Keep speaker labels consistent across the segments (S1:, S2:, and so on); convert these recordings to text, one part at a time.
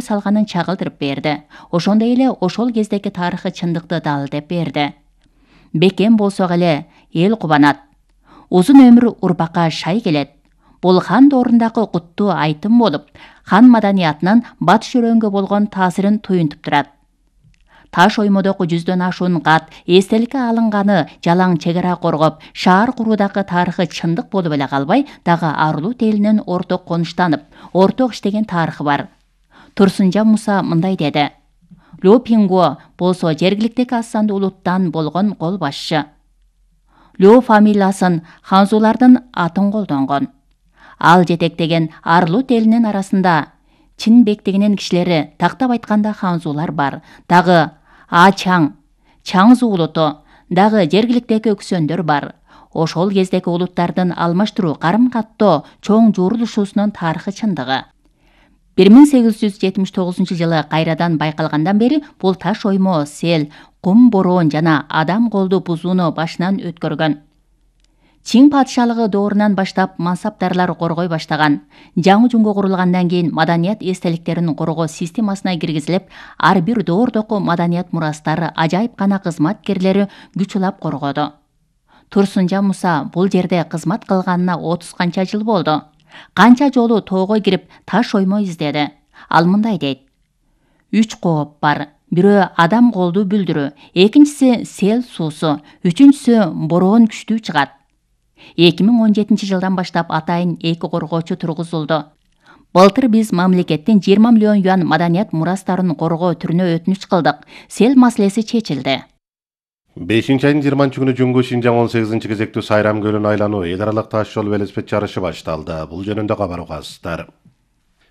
S1: салганын чагылдырып берди. Ошондой эле ошол кездеги тарыхый чындыкты далилдеп берди. Бекем болсок эле эл кубанат. Узун өмүр урбакка шай келет. Бул хан доорундагы куттуу айтым болуп, хан маданиятынын батыш өрөнгө болгон таасирин туюнтуп турат. Таш оймодогу 100дөн ашуун кат эстеликке алынганы жалаң чегара коргоп, шаар куруудагы тарыхый чындык болуп эле калбай, дагы Арлут элинин орток конуштанып, орток иштеген тарыхы бар. Турсунжан Муса мындай деди. Лю Пингуо болсо жергиликтеги аз сандуу улуттан болгон кол башчы. Лю фамилиясын ханзулардын атын колдонгон. Ал жетектеген Арлут элинин арасында чин бектигинин кишилери, тактап айтканда ханзулар бар. Дагы Ачаң, Чаңзу улуту, дагы жергиликтеги өксөндөр бар. Ошол кездеги улуттардын алмаштыруу, карым-каттоо, чоң жуурулушуусунун тарыхый чындыгы. 1879-жылы кайрадан байкалгандан бери бул таш оймо сел, кум бороон жана адам колду бузууну башынан өткөргөн. Чин падышалыгы доорунан баштап мансаптарлар коргой баштаган. Жаңы жунго курулгандан кийин маданият эстеликтерин коргоо системасына киргизилип, ар бир доордогу маданият мурастары ажайып гана кызматкерлери күч улап коргоду. Турсунжан Муса бул жерде кызмат кылганына 30 канча жыл болду. Канча жолу тоого кирип таш оймо издеди. Ал мындай дейт. 3 кооп бар. Бирөө адам колду бүлдүрүү, экинчиси сел суусу, үчүнчүсү бороон күчтүү чыгат. 2017-жылдан баштап атайын 2 коргоочу тургузулду. Былтыр биз мамлекеттин 20 миллион юан маданият мурастарын коргоо түрүнө өтүнүч кылдык. Сел маселеси чечилди.
S2: 5-айдын 20-күнү Жуңгу Шинжаң 18-кезектүү Сайрам көлүн айлануу эл аралык таш жол велосипед жарышы башталды. Бул жөнүндө кабар угасыздар.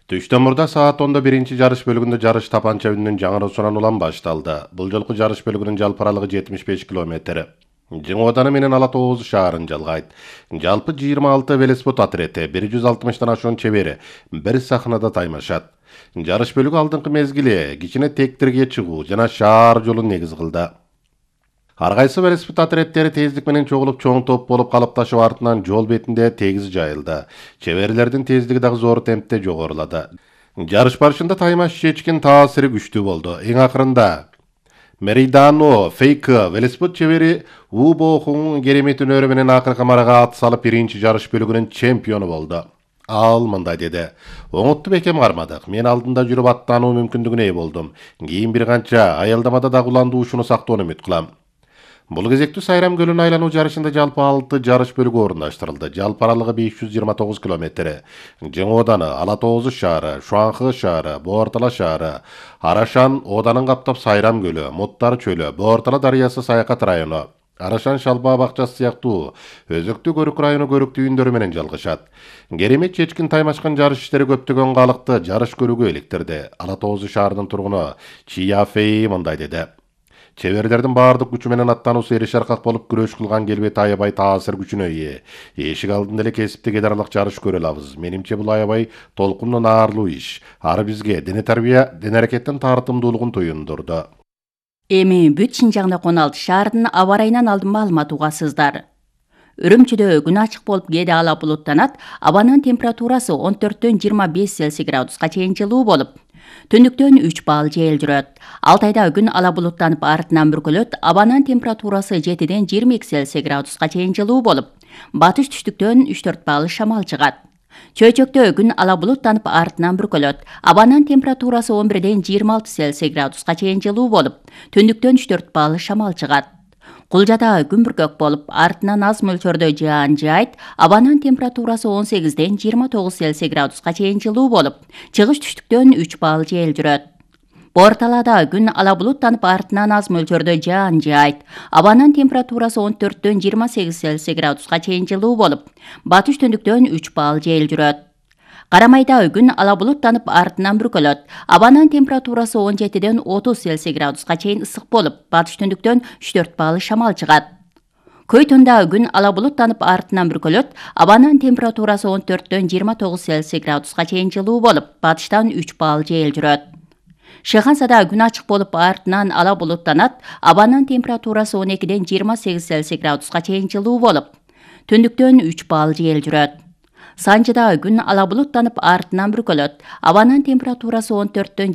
S2: Түштөн мурда саат 10:00 биринчи жарыш бөлүгүндө жарыш тапанча үнүнүн жаңыруусунан улам башталды. Бул жолку жарыш бөлүгүнүн жалпы аралыгы 75 километр. Жыңы Ооданы менен Ала Тооз шаарын жалгайт. Жалпы 26 велосипед отряды, 160 ашуун чебери бир сахнада таймашат. Жарыш бөлүгү алдыңкы мезгили кичине тектирге чыгуу жана шаар жолун негиз кылды. Ар кайсы велосипед отряддери тездик менен чогулуп чоң топ болуп калыпташып артынан жол бетинде тегиз жайылды. Чеберлердин тездиги дагы зор темпте жогорулады. Жарыш барышында таймаш чечкин таасири күчтүү болду. Эң акырында Меридано Фейк велосипед чебери Убохун керемет өнөрү менен акыркы марага ат салып биринчи жарыш бөлүгүнүн чемпиону болду. Ал мындай деди. Оңотту бекем кармадык. Мен алдында жүрүп аттануу мүмкүндүгүнө ээ болдум. Кийин бир канча аялдамада дагы уландуушуну сактоону үмүт кылам. Бул кезектүү Сайрам көлүн айлануу жарышында жалпы 6 жарыш бөлүгү орундаштырылды. Жалпы аралыгы 529 километр. Жыңы Ооданы, Ала Тооз шаары, Шуанхы шаары, Боортала шаары, Арашан Ооданын каптап Сайрам көлү, Муттар чөлү, Боортала дарыясы Саякат району, Арашан Шалбаа бакчасы сыяктуу өзөктүү көрүк району көрүктүүүндөрү менен жалгышат. Керемет чечкин таймашкан жарыш иштери көптөгөн калыкты жарыш көрүүгө иликтирди. Ала Тооз шаарынын тургуну Чияфей мындай деди. Чеберлердин баардык күчү менен аттануусу эре шаркак болуп күрөш кылган келбети аябай таасир күчүнө ээ. Эшик алдында эле кесиптик эд аралык жарыш көрө алабыз. Менимче бул аябай толкунду наарлуу иш. Ар бизге дене тарбия, дене аракеттин тартымдуулугун туюндурду.
S1: Эми бүт Шинжаңда 16 шаардын аба ырайынан алдын маалымат угасыздар. Үрүмчүдө күн ачык болуп кээде ала булуттанат, абанын температурасы 14-төн 25 Цельсий градуска чейин жылуу болуп, түндүктөн 3 балл жел жүрөт. Алтайда күн ала булуттанып артынан бүркөлөт, абанын температурасы 7-ден 22 Цельсий градуска чейин жылуу болуп, батыш түштүктөн 3-4 балл шамал чыгат. Чөйчөктө күн ала булуттанып артынан бүркөлөт, абанын температурасы 11-ден 26 Цельсий градуска чейин жылуу болуп, түндүктөн 3-4 балл шамал чыгат. Кулжада күн бүркөк болуп, артынан аз мөлчөрдө жаан жайт, абанын температурасы 18-ден 29 Цельсий градуска чейин жылуу болуп, чыгыш түштүктөн 3 балл жел жүрөт. Боорталада күн ала булуттанып, артынан аз мөлчөрдө жаан жайт, абанын температурасы 14-дөн 28 Цельсий градуска чейин жылуу болуп, батыш түндүктөн 3 балл жел жүрөт. Карамайда күн ала булуттанып, артынан бүркөлөт, абанын температурасы 17-ден 30 Цельсий градуска чейин ысык болуп, батыш түндүктөн 3-4 балл шамал чыгат. Көйтүндө күн ала булуттанып, артынан бүркөлөт, абанын температурасы 14-дөн 29 Цельсий градуска чейин жылуу болуп, батыштан 3 балл жел жүрөт. Шыхансада күн ачык болуп, артынан ала булуттанат, абанын температурасы 12-ден 28 Цельсий градуска чейин жылуу болуп, түндүктөн 3 балл жел жүрөт. Санжыда күн ала булуттанып артынан бүркөлөт. Абанын температурасы 14-төн